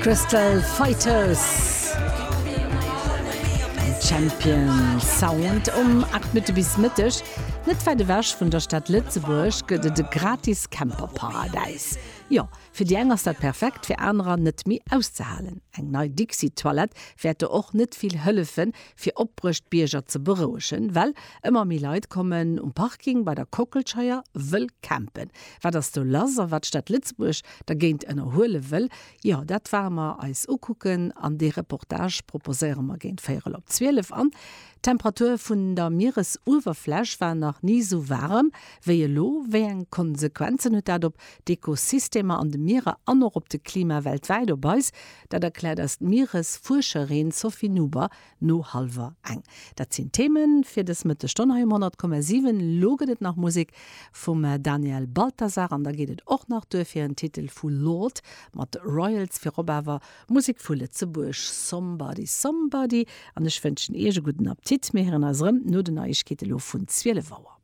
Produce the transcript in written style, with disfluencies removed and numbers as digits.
Crystal Fighters Champion Sound um 8 Minutte bis Mëtteg. Net wäit ewech vun der Stad Lëtzebuerg gëtt et e gratis Camperparadäis. Jo, fir déi eng ass dat perfekt, fir anerer net méi auszehalen. Eng nei Dixi-Toilette wäert do och net vill hëllefen, fir opbruecht Bierger ze berouegen, well ëmmer méi Leit kommen um Parking bei der Kockelscheier wëll campen. Wat ass do lass a wat d'Stad Lëtzebuerg dergéint ënnerhuele wëll, jo dat ware mer eis ukucken an dee Reportage proposéiere mer géint véierel op 12. An d'Temperatur vun der Mieresuewerfläch war nach ni esou waarem wéi elo. Wéi eng Konsequenzen huet dat op d'Ekosystemer an de Mierer an och op de Klima weltwäit, op eis? Dat erkläert eis d'Mieresfuerscherin Sophie Nuber no hallwer eng. Dat sinn d'Themen fir dës Mëttesstonn hei um 100,7. Lo gëtt et nach Musek vum Daniel Balthasar an da geet et och nach duer fir en Titel vu Lord mat Royals. Virop awer Musek vu Lëtzebuerg, Somebody Somebody. An ech wënschen Iech e gudden Appetit. Mir héieren eis erëm no den Neiegkeete lo vun 12 Auer.